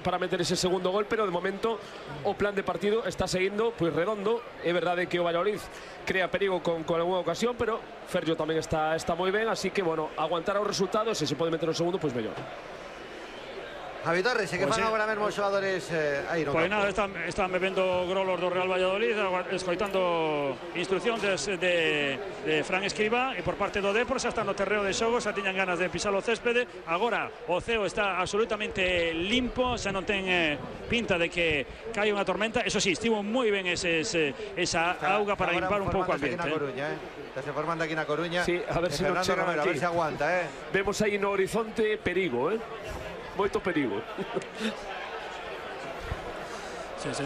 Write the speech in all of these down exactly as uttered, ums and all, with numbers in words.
para meter ese segundo gol, pero de momento o plan de partido está seguindo pois redondo. É verdade que o Valladolid crea perigo con, con alguna ocasión, pero Ferllo tamén está, está moi ben, así que, bueno, aguantar os resultados e se pode meter o segundo, pois mellor. Javi Torres, e que pues fan sí. agora mesmo os xogadores eh, aí no Pois campo? nada, están, están bebendo grolos do Real Valladolid, escoitando instruccións de, de Fran Escribá, e por parte do Depor xa están no terreo de xogo, xa tiñan ganas de pisar o céspede. Agora o ceo está absolutamente limpo, xa non ten eh, pinta de que cae unha tormenta. Eso sí, estivo moi ben ese, ese, esa está, auga para limpar un pouco o ambiente. Aquí na Coruña, eh? Está se formando aquí na Coruña. Sí, a ver se non chega Romero, aquí. a ver se aguanta, eh? Vemos aí no horizonte perigo, eh? Moito perigo. Sí, sí.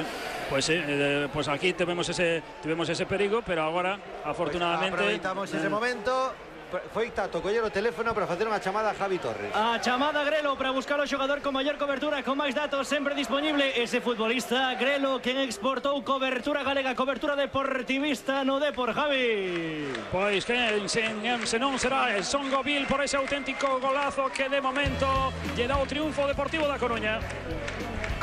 Pues sí, eh, pues aquí tuvimos ese, tuvimos ese perigo, pero agora, afortunadamente... Pues aproveitamos ese eh, momento. Foi Tato coller o teléfono para facer unha chamada a Javi Torres. A chamada Grelo para buscar o xogador con maior cobertura, con máis datos sempre disponible. Ese futbolista Grelo, quen exportou cobertura galega, cobertura deportivista no Depor, Javi. Pois que se, se non será el Songovil por ese auténtico golazo que de momento lle dá o triunfo Deportivo da Coruña.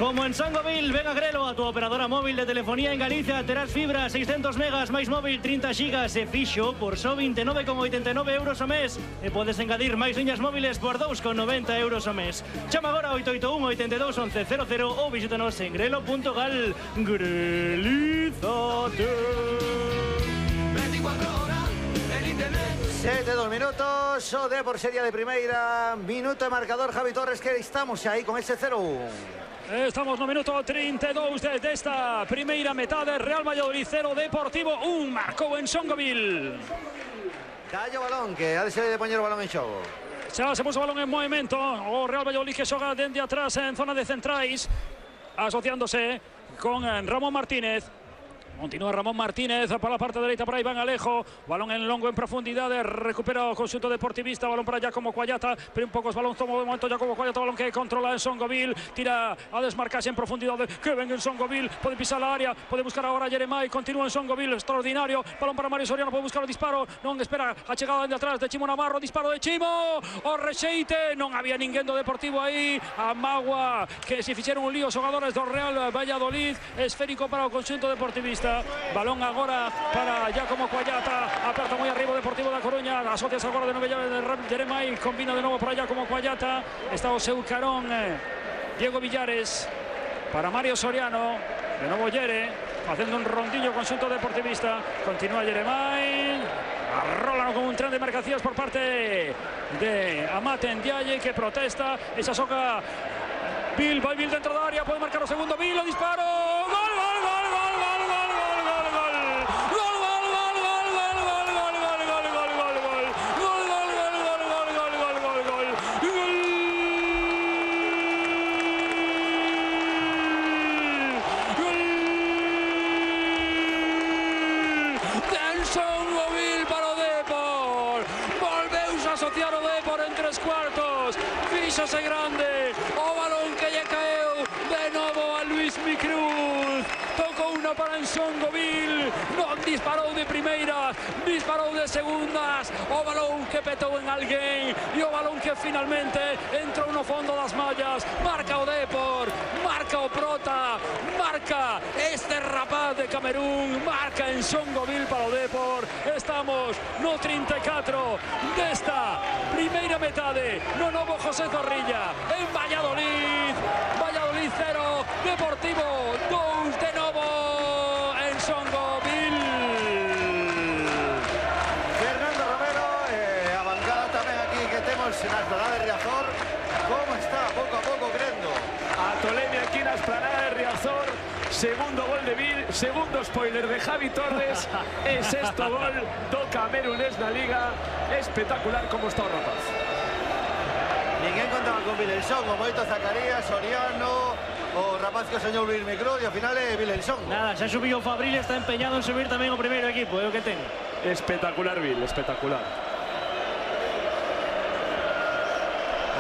Como en Songovil, ven a Grelo, a tu operadora móvil de telefonía en Galicia. Terás fibra, seiscentos megas, máis móvil, trinta gigas e fixo por só vinte e nove con oitenta e nove euros ao mes. E podes engadir máis liñas móviles por dous con noventa euros ao mes. Chama agora oito oito un, oito dos, once cero cero ou visítanos en grelo punto gal. Grelízate. Sete, dos minutos, o Depor sería de primeira. Minuto de marcador, Javi Torres, que estamos aí con ese cero un. Estamos no minuto trinta e dous desta primeira metade. Real Valladolid cero, Deportivo un. Marcou en Songovil. Dalle o balón, que ha de ser de poñer o balón en xogo. Xa se puso o balón en movimento. O Real Valladolid que xoga dende atrás en zona de centrais, asociándose con Ramón Martínez. Continúa Ramón Martínez para la parte derecha, para Iván Alejo. Balón en longo en profundidade. Recupera o conxunto deportivista. Balón para Giacomo Cuallata. Pero un poucos balón toma de momento Giacomo Cuallata. Balón que controla en Songovil. Tira a desmarcarse en profundidade. Que ven en Songovil. Pode pisar a área. Pode buscar agora a Jeremai. Continúa en Songovil. Extraordinario. Balón para Mario Soriano. Pode buscar o disparo. Non espera a chegada de atrás de Chimo Navarro. Disparo de Chimo. O rexeite. Non había ninguén do Deportivo aí. A Magua que se fixeron un lío os xogadores do Real Valladolid. Esférico para o conxunto deportivista. Balón agora para Giacomo Cuallata. Aperta moi arriba o Deportivo da Coruña. Asocias agora de novo de Jeremai. Combina de novo para Giacomo Cuallata. Está o seu carón Diego Villares para Mario Soriano. De novo Yere facendo un rondillo conxunto deportivista. Continúa Jeremai. Arrolan con un tren de marcacións por parte de Amate Ndiaye, que protesta. Esa soca Bill, vai Bill dentro da área. Pode marcar o segundo Bill. O disparo. Gol, gol, gol, gol, gol, gol. Asociar o Depor en tres cuartos. Fíxose grande. O balón que lle caeu de novo a Luis Micruz. Tocou unha para en Songovil. Non disparou de primeiras, disparou de segundas. O balón que petou en alguén. E o balón que finalmente entrou no fondo das mallas. Marca o Depor. Marca o Prota. Marca este rapaz de Camerún. Marca en Songovil para o Depor. Estamos no trinta e catro desta primeira metade no novo José Zorrilla en Valladolid. Valladolid cero, Deportivo dous de novo en Songovil. Fernando Romero, eh, a bancada tamén aquí que temos na esplanada de Riazor. Como está pouco a pouco crendo? A tolemia aquí na esplanada de Riazor. Segundo gol de Bill, segundo spoiler de Javi Torres e sexto gol do camerunés na Liga. Espectacular como está o rapaz. Ninguén contaba con Vilelson, o moito Zacarías, Soriano, o rapaz que soñou Luis Micruz, e ao final é Vilelson. Nada, xa subiu o Fabril, está empeñado en subir tamén o primeiro equipo, é o que ten. Espectacular Bill, espectacular.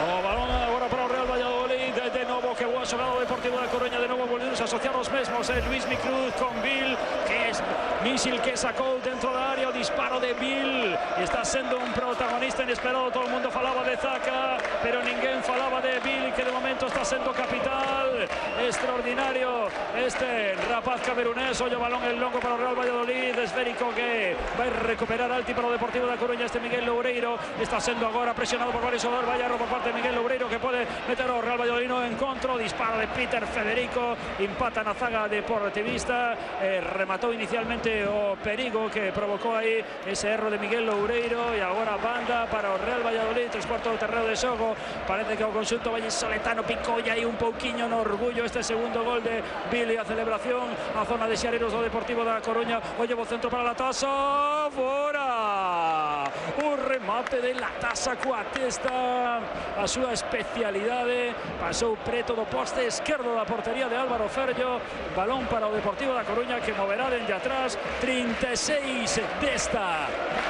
O balón agora para o Real Valladolid, de novo que boa xogada do Deportivo da Coruña, de novo volvemos a asociar os mesmos, eh, Luismi Cruz con Bill, que es mísil que sacou dentro da área, o disparo de Bill, está sendo un protagonista inesperado, todo o mundo falaba de Zaka, pero ninguén falaba de Bill, que de momento está sendo capital, extraordinario este rapaz camerunés. Ollo balón el longo para o Real Valladolid, esférico que vai recuperar alti para o Deportivo da Coruña, este Miguel Loureiro, está sendo agora presionado por varios xogadores, vai arro por parte de Miguel Loureiro, que pode meter o Real Valladolid no encontro, disparo de Peter Federico, empata na zaga deportivista, eh, rematou inicialmente o Perigo, que provocou aí ese erro de Miguel Loureiro, e agora banda para o Real Valladolid, tres cuartos do terreo de xogo, parece que o conxunto vallisoletano picolla aí un pouquiño no orgullo este segundo gol de Billy, a celebración, a zona de Xareros do Deportivo da Coruña, o llevo centro para la Tasa, fora, o remate de la Tasa coa testa, a súa especialidade, pasou preto do poste esquerdo da portería de Álvaro Ferllo, balón para o Deportivo da Coruña, que moverá dende atrás, trinta e seis desta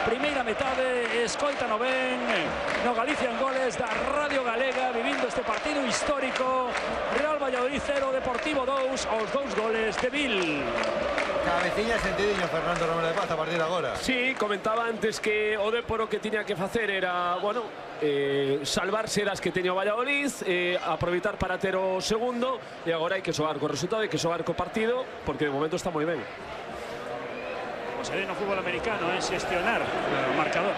primeira metade, escoita no ben, no Galicia en goles da Radio Galega, vivindo este partido histórico, Real Valladolid cero, Deportivo dous, os dous goles de Bill. Cabeciña sentidiño Fernando Romero de Paz a partir de agora. Sí, comentaba antes que o Depor o que tiña que facer era, bueno, eh, salvarse das que teña o Valladolid, eh, aproveitar para ter o segundo, e agora hai que xogar co resultado, hai que xogar co partido, porque de momento está moi ben. Como se ve no fútbol americano, es gestionar el marcador.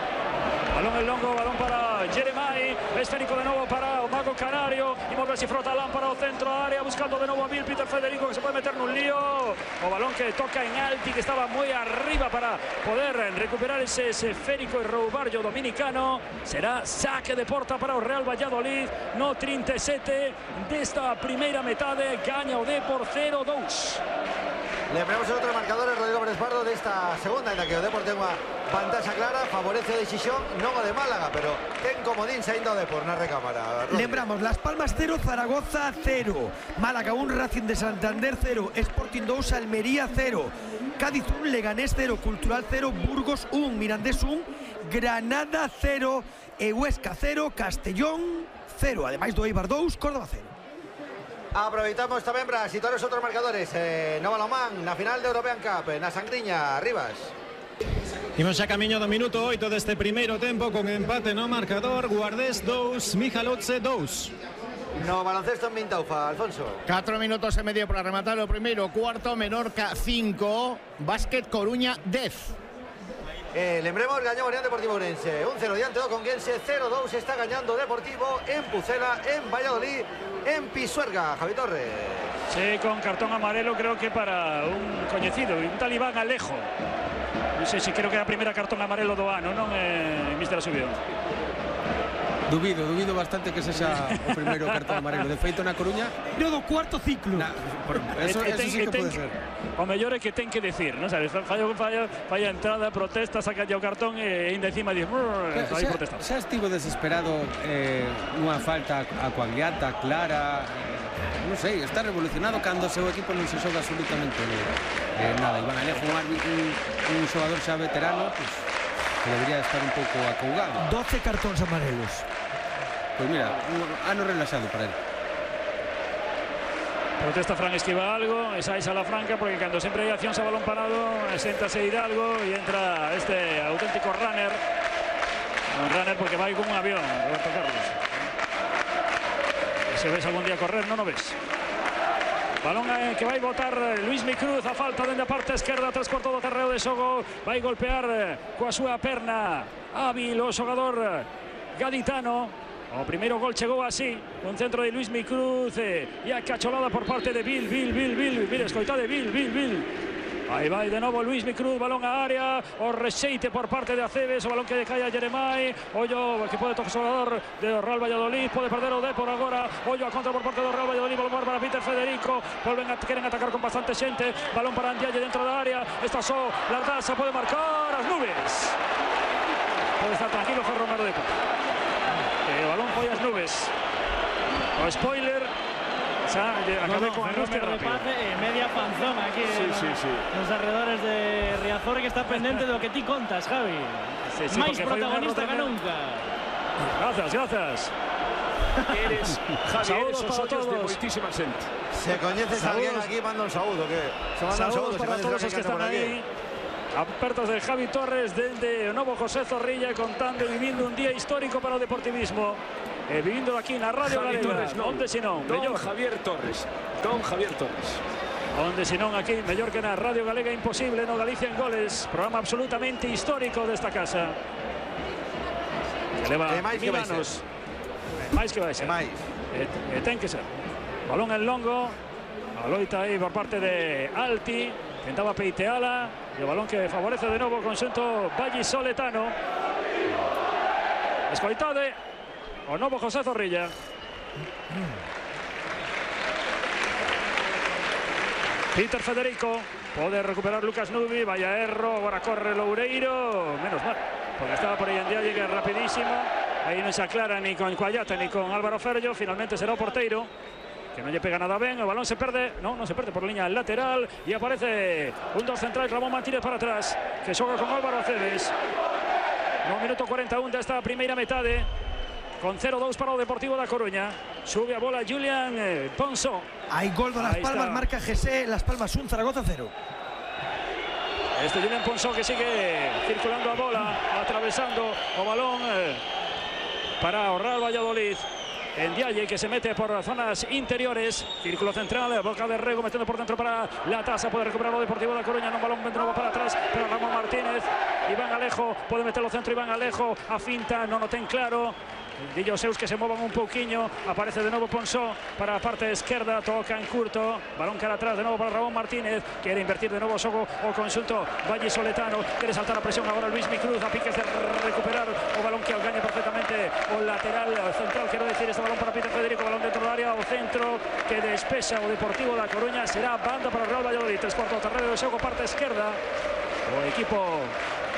Balón el longo, balón para Jeremai, esférico de nuevo para o Mago Canario, y mueve si frota lámpara o centro área, buscando de nuevo a Bill, Peter Federico, que se puede meter en un lío, o balón que toca en alti, que estaba muy arriba para poder recuperar ese esférico y roubarlo dominicano. Será saque de porta para o Real Valladolid, no trinta e sete desta primeira metade, gaña o Depor cero dos. Le ponemos el otro marcador, Rodrigo Pérez Pardo, de esta segunda, en la que o Depor ten unha pantalla clara, favorece a decisión, non o de Málaga, pero ten comodín saindo o Depor na recámara. Rodrigo. Lembramos, Las Palmas cero, Zaragoza cero, Málaga un, Racing de Santander cero, Sporting dos, Almería cero, Cádiz un, Leganés cero, Cultural cero, Burgos un, Mirandés un, Granada cero, e Huesca cero, Castellón cero, ademais do Eibar dous, Córdoba cero. Aproveitamos tamén para situar os outros marcadores. eh, No Balomán, na final de European Cup, na Sangriña, Rivas. Imos xa camiño do minuto oito deste primeiro tempo, con empate no marcador, Guardés dous, Mijalotze dous. No baloncesto en Mintaufa, Alfonso. Catro minutos e medio para rematar o primeiro cuarto, Menorca cinco, Básquet Coruña dez. Eh, lembremos, gañou Unión Deportivo Ourense un cero diante do Conguense, cero dos está gañando Deportivo en Pucela, en Valladolid, en Pisuerga. Javi Torres. Sí, con cartón amarelo, creo que para un coñecido, un talibán Alejo. Non sei se creo que é a primeira cartón amarelo do ano, non, eh, mister Asubión? Dubido, dubido bastante que sexa o primeiro cartón amarelo. De feito, na Coruña... No do cuarto ciclo. Na, por, eso, e, eso ten, sí que ten, pode ser. O mellor é que ten que decir, non sabes? Falla, falla, falla entrada, protesta, saca o cartón e ainda encima diz... Aí protesta. Xa estivo desesperado eh, unha falta a Coagliata, clara... Eh, non sei, está revolucionado cando o seu equipo non se xoga absolutamente eh, nada. Iván Alejo, un, un, un xogador xa veterano, pues, que debería estar un pouco acougado. doce cartóns amarelos. Pois mira, un ano relaxado para él. Protesta Fran Esquiva algo, esa es a la franca, porque cando sempre hai accións a balón parado, séntase Hidalgo e entra este auténtico runner. Un runner porque vai con un avión, Roberto Carlos. Se ves algún día correr, non o ves. Balón eh, que vai botar Luismi Cruz, a falta dende a parte esquerda, tres cuartos do terreo de xogo, vai golpear eh, coa súa perna hábil o xogador gaditano. O primeiro gol chegou así, un centro de Luismi Cruz eh, e a cacholada por parte de Bill, Bill, Bill, Bill, Bill, escoitade, Bill, Bill, Bill. Aí vai de novo Luismi Cruz, balón a área, o rexeite por parte de Aceves, o balón que decae a Jeremai, ollo que pode tocar o xogador de Real Valladolid, pode perder o Depor agora, ollo a contra por parte do Real Valladolid, balón para Peter Federico, volven a, queren atacar con bastante xente, balón para Andialle dentro da área, está só, Lardaza pode marcar, as nubes. Pode estar tranquilo Ferro Romero Depor. O balón foi as nubes. O spoiler xa acabé no, no, con a Ferruste repase e media panzón aquí sí, no, sí, sí. nos alrededores de Riazor, que está pendente do que ti contas, Javi. Sí, sí, máis porque foi un protagonista erro que tremendo. nunca. Gracias, gracias. eres, Javi, Saúdos eres os para ollos de todos. moitísima xente. Se coñeces a alguén aquí, manda un saúdo, que se manda un Saúdos saúdo, se para coñeces todos a os que alguén están por aquí. aí. Apertos de Javi Torres dende o novo José Zorrilla, contando e vivindo un día histórico para o deportivismo. E vivindo aquí na Radio Javi Galega. Torres, non. Onde senón, Don mellor. Javier Torres. Don Javier Torres. Onde senón aquí, mellor que na Radio Galega Imposible, no Galicia en Goles. Programa absolutamente histórico desta casa. Que leva E máis que mil vai ser. anos. E máis que vai ser. E máis. E, e ten que ser. Balón en longo. A loita aí por parte de Alti. Tentaba peiteala. E o balón que favorece de novo o conxunto vallisoletano. Escoitade o novo José Zorrilla. Peter Federico. Pode recuperar Lucas Nubi. Vaya erro. Agora corre Loureiro. Menos mal. Porque estaba por aí en día. Llega rapidísimo. Aí non se aclara ni con Cuayata ni con Álvaro Ferllo. Finalmente será o porteiro, que non lle pega nada ben. O balón se perde. Non, non se perde por liña lateral. E aparece un dos central, Ramón Martínez para atrás, que xoga con Álvaro Aceves. No minuto cuarenta e un desta primeira metade. Con cero dous para o Deportivo da Coruña. Sube a bola Julián eh, Ponso. Hay gol de Las Ahí Palmas, está. marca G S, Las Palmas un, Zaragoza cero. Este Julián Ponso que sigue circulando a bola, atravesando o balón eh, para o Real Valladolid. En Dialle, que se mete por zonas interiores. Círculo central, boca de Rego metiendo por dentro para la tasa. Puede recuperar o Deportivo da Coruña. Un balón de nuevo para atrás para Ramón Martínez. Iván Alejo puede meterlo centro. Iván Alejo a finta, non o ten claro. Dillo Seus que se movan un pouquiño. Aparece de novo Ponsó para a parte esquerda. Toca en curto. Balón cara atrás de novo para Ramón Martínez. Quiere invertir de novo o xogo o conxunto vallisoletano. Quiere saltar a presión agora Luis Micruz. A piques de recuperar o balón que algaña perfectamente o lateral central. Quero decir, este balón para Peter Federico. Balón dentro do área. O centro que despexa o Deportivo da Coruña. Será banda para o Real Valladolid. Tres cuartos terreno do xogo, parte esquerda. O equipo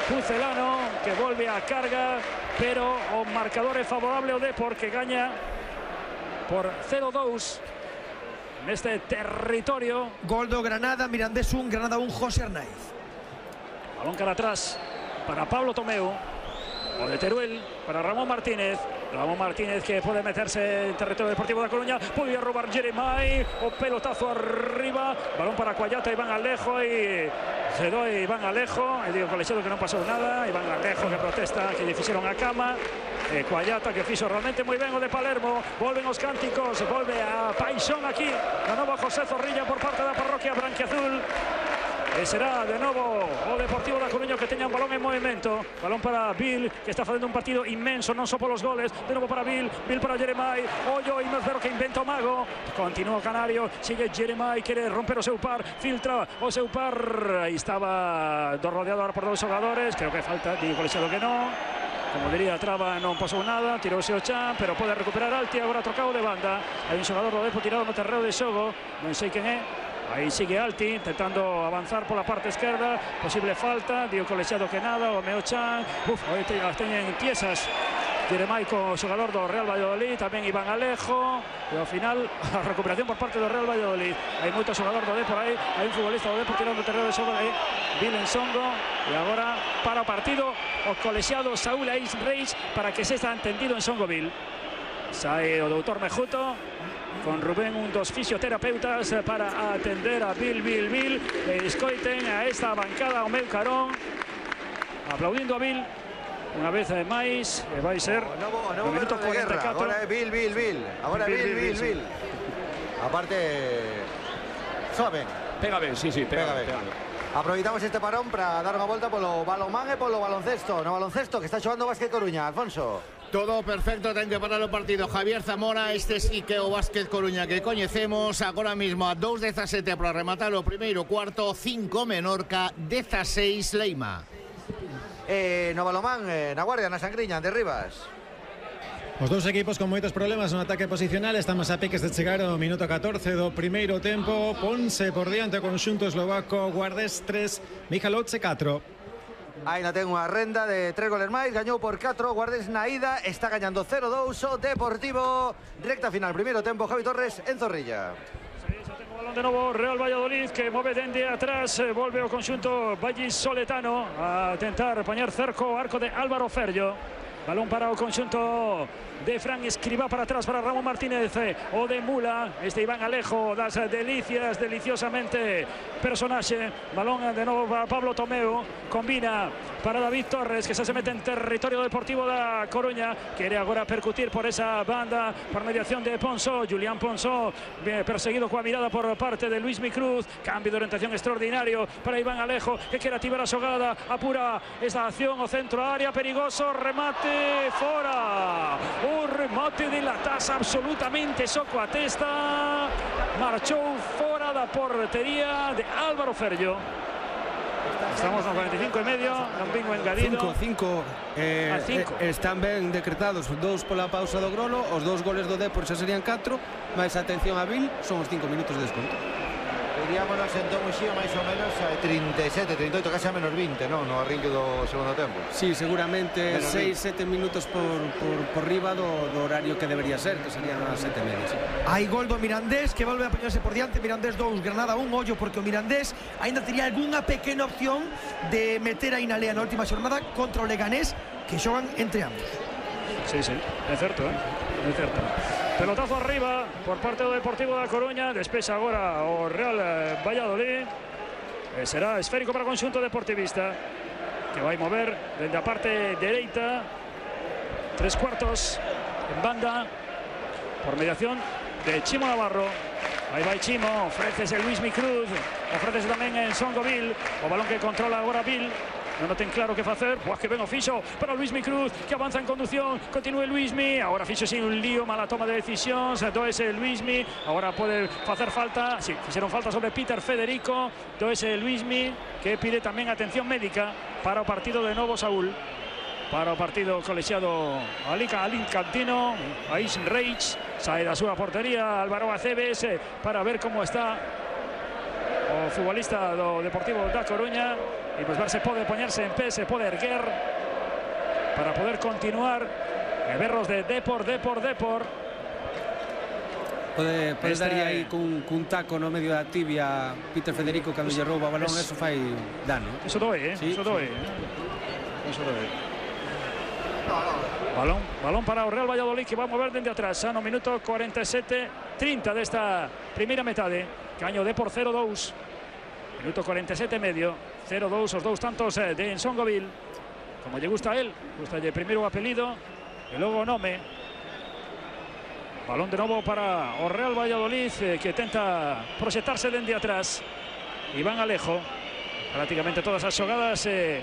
pucelano que volve a carga, pero o marcador é favorable ao Depor, que gaña por cero dous neste territorio. Gol do Granada, Mirandés un, Granada un, José Arnaiz. Balón cara atrás para Pablo Tomeu. O de Teruel para Ramón Martínez. Ramón Martínez que pode meterse en territorio deportivo da Coruña. Podía robar Jeremai. O pelotazo arriba. Balón para Cuayata, Iván Alejo. E se doe Iván Alejo. E digo colexiado que non pasou nada. Iván Alejo que protesta que lle fixeron a cama. E Cuayata que fixo realmente moi ben o de Palermo. Volven os cánticos. Volve a paixón aquí. De novo José Zorrilla por parte da parroquia branquiazul. E será de novo o Deportivo da Coruña que teña un balón en movimento. Balón para Bill, que está facendo un partido inmenso, non só polos goles. De novo para Bill, Bill para Jeremai. Ollo, Inmezbero que inventa o mago. Continúa o Canario, sigue Jeremai, quere romper o seu par, filtra o seu par. Aí estaba do rodeado ahora por dous xogadores. Creo que falta, digo colexiado que non. Como diría Traba, non pasou nada, tirouse o chan, pero pode recuperar Alti, agora trocado de banda. Hai un xogador do Depo tirado no terreo de xogo, non sei quen é. Aí sigue Alti, intentando avanzar pola parte esquerda, posible falta, digo colexiado que nada, o Meo Chan, uf, aí te, as teñen tiesas. Jeremai co xogador do Real Valladolid, tamén Iván Alejo, e ao final a recuperación por parte do Real Valladolid. Hai moito xogador do Depor aí, hai un futbolista do Depor tirando o terreo de xogo de Vilen Songo, e agora para o partido o colexiado Saúl Ais Reis para que se está entendido en Songoville. Sae o doutor Mejuto con Rubén, un dos fisioterapeutas para atender a Bill, Bill, Bill. E escoiten a esta bancada o meu carón, aplaudindo a Bill unha vez máis, e vai ser O novo, o novo no minuto Berro de cuarenta e guerra. catro. Agora é Bill, Bill, Bill. Agora Bill, Bill, Bill, Bill, Bill, Bill. Aparte, soa ben. Pega ben, sí, sí, pega, Pega ben. pega ben. Aproveitamos este parón para dar unha volta polo balonmán e polo baloncesto. No baloncesto que está xogando o Básquet Coruña, Alfonso. Todo perfecto, ten que parar o partido Javier Zamora. Este sí que o Básquet Coruña que coñecemos. Agora mesmo a dos dezasete para rematar o primeiro cuarto. Cinco Menorca, dezaseis Leima. Eh, no balonmán, eh, na Guardia, na Sangriña, de Rivas. Os dous equipos con moitos problemas no ataque posicional. Estamos a piques de chegar ao minuto catorce do primeiro tempo. Ponse por diante o conxunto eslovaco. Guardés tres, Michalovce catro. Aina ten unha renda de tres goles máis, gañou por catro, Guardes na ida, está gañando cero dous o Deportivo. Recta final, primeiro tempo, Javi Torres en Zorrilla. Sí, xa ten o balón de novo Real Valladolid, que move dende atrás, eh, volve o conxunto vallisoletano a tentar poñer cerco o arco de Álvaro Ferllo. balón para o conxunto de Fran Escribá para atrás para Ramón Martínez o de Mula, este Iván Alejo das delicias, deliciosamente personaxe, balón de novo para Pablo Tomeu, combina para David Torres, que xa se mete en territorio deportivo da Coruña, quere agora percutir por esa banda por mediación de Ponsó, Julián Ponsó perseguido coa mirada por parte de Luismi Cruz, cambio de orientación extraordinario para Iván Alejo, que quere activar a xogada, apura esta acción, o centro área, perigoso, remate fora, un remate de la taza absolutamente soco a testa, marchou fora da portería de Álvaro Ferllo. Estamos no cuarenta y cinco e medio, non vin o engadido. cinco, cinco, eh, a cinco. Eh, están ben decretados dous pola pausa do Grolo, os dous goles do Depor xa serían catro, máis atención a Vil, son os cinco minutos de desconto. Iríamonos en Tomuxía máis ou menos a trinta e sete, trinta e oito, casi a menos vinte, non? No arrinque do segundo tempo. Sí, seguramente seis, sete minutos por, por, por riba do, do horario que debería ser, que serían as sete e media. Sí. Hai gol do Mirandés, que volve a poñerse por diante. Mirandés dous, Granada un, ollo, porque o Mirandés ainda tería algunha pequena opción de meter aí na lea na última xornada contra o Leganés, que xogan entre ambos. Sí, sí, é certo, eh? É certo. Pelotazo arriba por parte do Deportivo da Coruña, despexa agora o Real Valladolid, e será esférico para o conxunto deportivista, que vai mover dende a parte dereita, tres cuartos en banda, por mediación de Chimo Navarro. Aí vai Chimo, ofrécese Luismi Cruz, ofrécese tamén en Songovil, o balón que controla agora Vil. Non o ten claro que facer, pues que ven o fixo para Luismi Cruz, que avanza en conducción, continúe Luismi, agora fixo sin un lío, mala toma de decisións, doese Luismi, agora pode facer falta, si, sí, fixeron falta sobre Peter Federico, doese Luismi, que pide tamén atención médica para o partido de novo Saúl, para o partido colexiado Alicantino, Ais Reich, sae da súa portería Álvaro Aceves, para ver como está o futbolista do Deportivo da Coruña. E pues ver se pode poñerse en pé, se pode erguer para poder continuar e berros de Depor, Depor, Depor. Pode, pode Este... daría aí cun, cun taco no medio da tibia Peter Federico cando lle rouba o balón, eso fai dano. Eso doe, eh? Sí, Eso doe. Sí. Eso doe. Balón, balón para o Real Valladolid, que va a mover dende atrás, no minuto cuarenta y siete treinta desta primeira metade. Caño Depor cero dous. Minuto cuarenta y siete e medio, cero dous, os dous tantos de Ensongovil, como lle gusta a él, gusta lle primeiro o apelido e logo o nome. Balón de novo para o Real Valladolid, eh, que tenta proxectarse dende atrás. Iván Alejo, prácticamente todas as xogadas eh,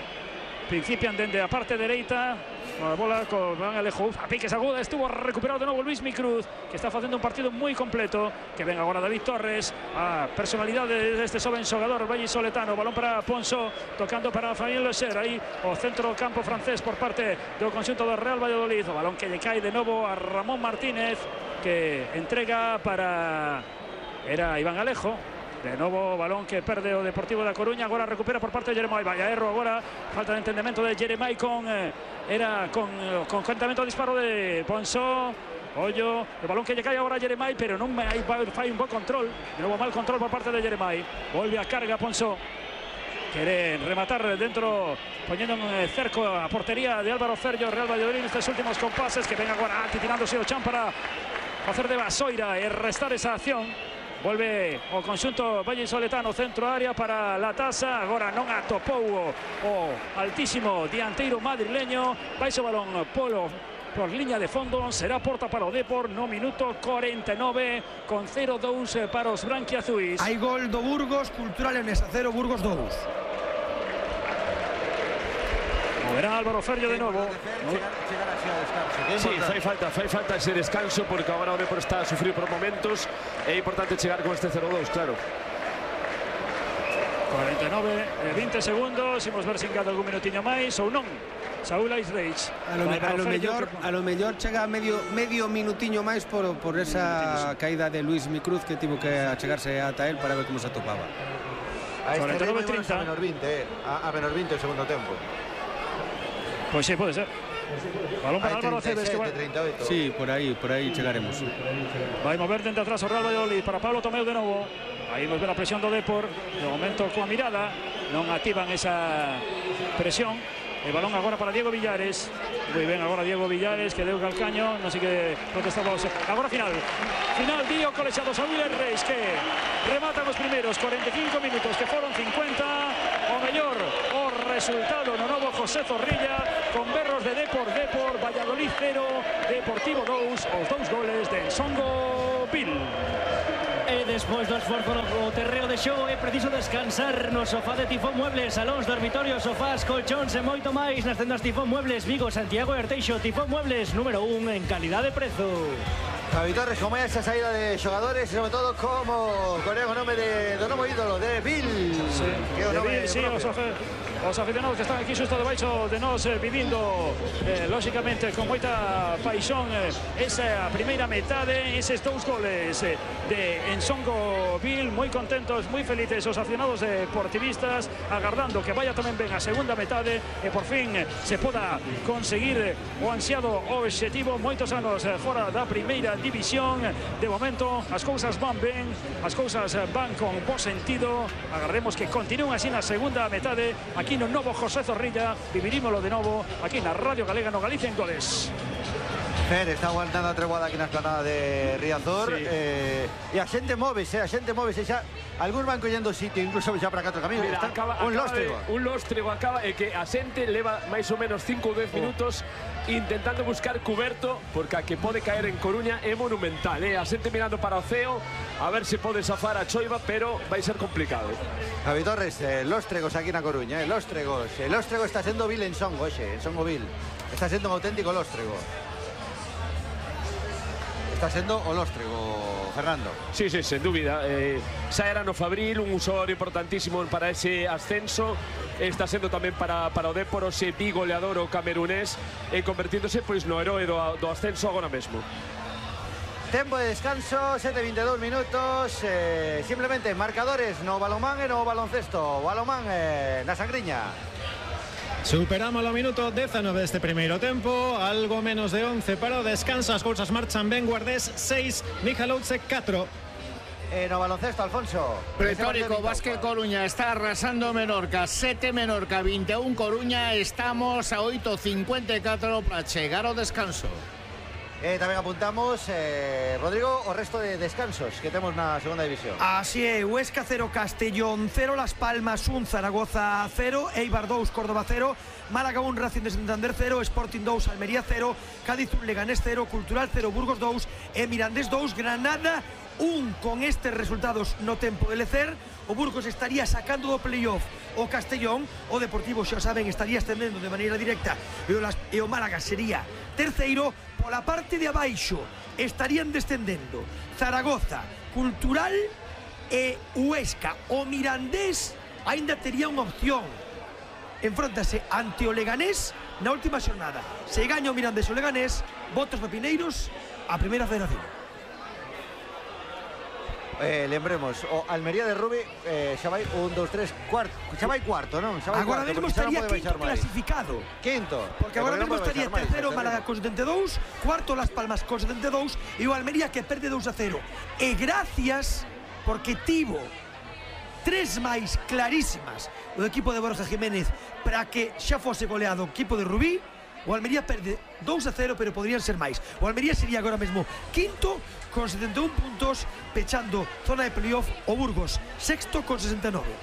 principian dende a parte dereita. A bola con Iván Alejo, uf, a piques aguda, estuvo recuperado de novo Luismi Cruz, que está facendo un partido moi completo, que ven agora David Torres, a personalidade deste xoven xogador vallisoletano, balón para Ponsó, tocando para Fabien Lecher, aí o centro campo francés por parte do conxunto do Real Valladolid, o balón que lle cae de novo a Ramón Martínez, que entrega para era Iván Alejo. De novo balón que perde o Deportivo da Coruña, agora recupera por parte de Jeremai. Vaya erro agora, falta de entendemento de Jeremai con eh, era con eh, con contentamento ao disparo de Ponsó. Ollo, o balón que lle cae agora a Jeremai, pero non hai fai un bo control. De novo mal control por parte de Jeremai. Volve a carga Ponsó. Quere rematar dentro, poniendo en cerco a portería de Álvaro Ferllo, Real Valladolid nestes últimos compases, que ven agora tirándose o chan para facer de vasoira e restar esa acción. Volve o conxunto vallisoletano, centro área para la taza, agora non atopou o, o altísimo dianteiro madrileño, vai o balón polo por liña de fondo, será porta para o Depor no minuto cuarenta y nueve con cero dous para os branquiazuis. Hai gol do Burgos, Cultural Leonesa cero, Burgos dous. Moverá Álvaro Ferllo de novo. Sí, fai falta, fai falta ese descanso, porque agora o Depor está a sufrir por momentos. É importante chegar con este cero dous, claro. cuarenta y nueve, vinte segundos, imos ver se engada algún minutiño máis ou non. Saúl Aisreich. A lo, a lo mellor, a lo mellor chega medio medio minutiño máis por por esa caída de Luismi Cruz, que tivo que achegarse ata él para ver como se atopaba. A este cuarenta y nueve treinta. A menos veinte, eh. a, a menos veinte el segundo tempo. Pois pues sí, pode ser. Balón para Álvaro Aceves, que vai... Sí, por aí, por aí chegaremos. Vai mover dentro atrás o Real Valladolid para Pablo Tomeu de novo. Aí nos ve a presión do Depor. De momento coa mirada non activan esa presión. El balón agora para Diego Villares. Moi ben, agora Diego Villares, que deu calcaño, non sei que protestaba. Agora final. Final Dío Colexiados a Miller Reis, que rematan os primeiros cuarenta e cinco minutos, que foron cincuenta. O mellor, o resultado no novo José Zorrilla, con berros de Depor, Depor, Valladolid cero, Deportivo dous, os dous goles de Ensongo Vil. E despois do esforzo no terreo de xogo é preciso descansar no sofá de Tifón Muebles, salóns, dormitorios, sofás, colchóns e moito máis nas tendas Tifón Muebles, Vigo, Santiago e Arteixo. Tifón Muebles, número un en calidad de prezo. Javi Torres, como é esa saída de xogadores e sobre todo como con o nome de, do novo ídolo de Vil. Sí, que o de nome Vil, sí, os, os aficionados que están aquí xusto debaixo de nós eh, vivindo eh, lógicamente con moita paixón eh, esa primeira metade, eses dous goles eh, de Ensongo Vil, moi contentos, moi felices os aficionados deportivistas, agardando que vaya tamén ben a segunda metade e por fin eh, se poda conseguir o ansiado obxectivo. Moitos anos eh, fora da primeira división, de momento as cousas van ben, as cousas van con bo sentido. Agardemos que continúen así na segunda metade aquí no novo José Zorrilla. Vivirímoslo de novo aquí na Radio Galega, no Galicia en Goles. Fer está aguantando a trebuada aquí na esplanada de Riazor, sí. eh, e a xente móvese, a xente móvese xa, algúns van collendo sitio, incluso xa para catro caminos. Mira, está acaba, un acaba lóstrego. De, un lóstrego acaba e que a xente leva máis ou menos cinco ou dez minutos intentando buscar cuberto, porque a que pode caer en Coruña é monumental, eh? A xente mirando para o ceo a ver se pode zafar a choiva, pero vai ser complicado. Javi Torres, eh, lóstregos aquí na Coruña, eh, lóstregos. El lóstrego está sendo Vil en Songo, xe, en Songo Vil. Está sendo un auténtico lóstrego. Está sendo o lóstrego, Fernando. Sí, sí, sen dúbida. Eh, xa era no Fabril, un usuario importantísimo para ese ascenso. Está sendo tamén para, para o Dépor, ese bigoleador o camerunés, e convertíndose pois no heroe do, do ascenso agora mesmo. Tempo de descanso, sete e veintidós minutos. Eh, simplemente marcadores no balonmán e no baloncesto. Balonmán eh, na Sangriña. Superamos o minuto dezanove deste primeiro tempo, algo menos de once para o descanso, as cousas marchan ben. Guardés seis, Mijalouce catro. Eh, no baloncesto, Alfonso. Pretórico, Básquet Coruña está arrasando Menorca, sete Menorca, veintiún Coruña. Estamos a oito cincuenta e catro para chegar ao descanso. Eh, tamén apuntamos, eh, Rodrigo, o resto de descansos que temos na segunda división. Así é, Huesca cero, Castellón cero, Las Palmas un, Zaragoza cero, Eibar dous, Córdoba cero, Málaga un, Racing de Santander cero, Sporting dous, Almería cero, Cádiz un, Leganés cero, Cultural cero, Burgos dous e Mirandés dous, Granada un. Con estes resultados no tempo de lecer, o Burgos estaría sacando do playoff o Castellón, o Deportivo, xa saben, estaría estendendo de maneira directa e o, Las, e o Málaga sería terceiro. Pola parte de abaixo estarían descendendo Zaragoza, Cultural e Huesca. O Mirandés aínda tería unha opción, enfróntase ante o Leganés na última xornada. Se gaña o Mirandés o Leganés, votos papineiros a primeira federación. Eh, lembremos, o Almería de Rubi eh, xa vai un, dous, tres, cuarto, xa vai cuarto, non? Xa vai agora cuarto, mesmo estaría no quinto clasificado. Quinto. Porque agora mesmo estaría terceiro Málaga con setenta e dous, cuarto Las Palmas con setenta e dous e o Almería que perde dous a cero. E gracias porque tivo tres máis clarísimas o equipo de Borja Jiménez para que xa fose goleado o equipo de Rubí. O Almería perde dous a cero, pero podrían ser máis. O Almería sería agora mesmo quinto con setenta e un puntos, pechando zona de playoff. O Burgos sexto con sesenta e nove.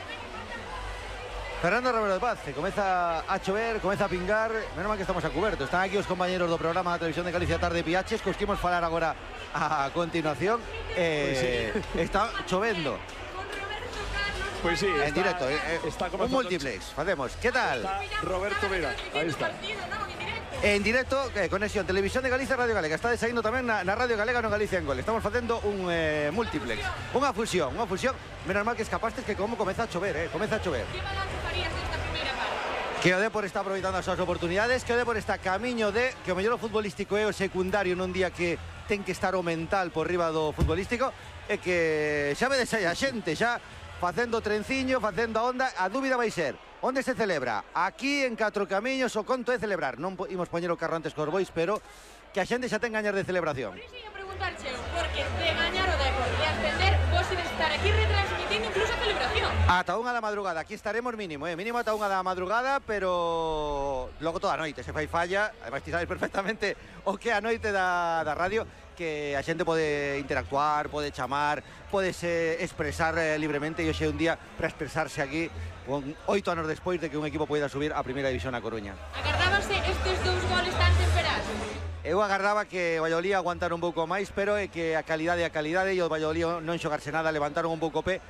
Fernando Romero de Paz, comeza a chover, comeza a pingar. Menos mal que estamos a cuberto. Están aquí os compañeros do programa da Televisión de Galicia Tarde P H, cos que imos falar agora a continuación. Eh, pues sí. Está chovendo. Pues sí, en está, directo, eh, está un multiplex, facemos. ¿Qué tal? Está Roberto, mira, ahí está. En directo, eh, conexión Televisión de Galicia, Radio Galega. Está desaindo tamén na, na Radio Galega no Galicia en Gol. Estamos facendo un eh, multiplex, unha fusión, unha fusión. Menos mal que escapastes que como comeza a chover, eh, comeza a chover. Que balance farías desta primeira parte? Que o Dépor está aproveitando as súas oportunidades, que o Dépor está camiño de que o mellor o futbolístico é o secundario nun día que ten que estar o mental por riba do futbolístico, e que xa vedes aí a xente xa facendo trenciño, facendo a onda. A dúbida vai ser onde se celebra. Aquí en Catro Camiños o conto é celebrar. Non imos poñer o carro antes cos bois, pero que a xente xa ten gañas de celebración. Por iso ia preguntarche, porque de gañar o Dépor e ascender, vos ides estar aquí retransmitindo incluso a celebración. Ata unha da madrugada, aquí estaremos mínimo, eh? mínimo ata unha da madrugada, pero logo toda a noite se fai falla, ademais ti sabes perfectamente o que a noite da, da radio, que a xente pode interactuar, pode chamar, pode se expresar eh, libremente, e hoxe é un día para expresarse aquí, con oito anos despois de que un equipo poida subir a primeira división a Coruña. Agardábase estes dous goles tan temperados? Eu agardaba que o Valladolid aguantara un pouco máis, pero é que a calidade é a calidade e o Valladolid non xogarse nada, levantaron un pouco o pé,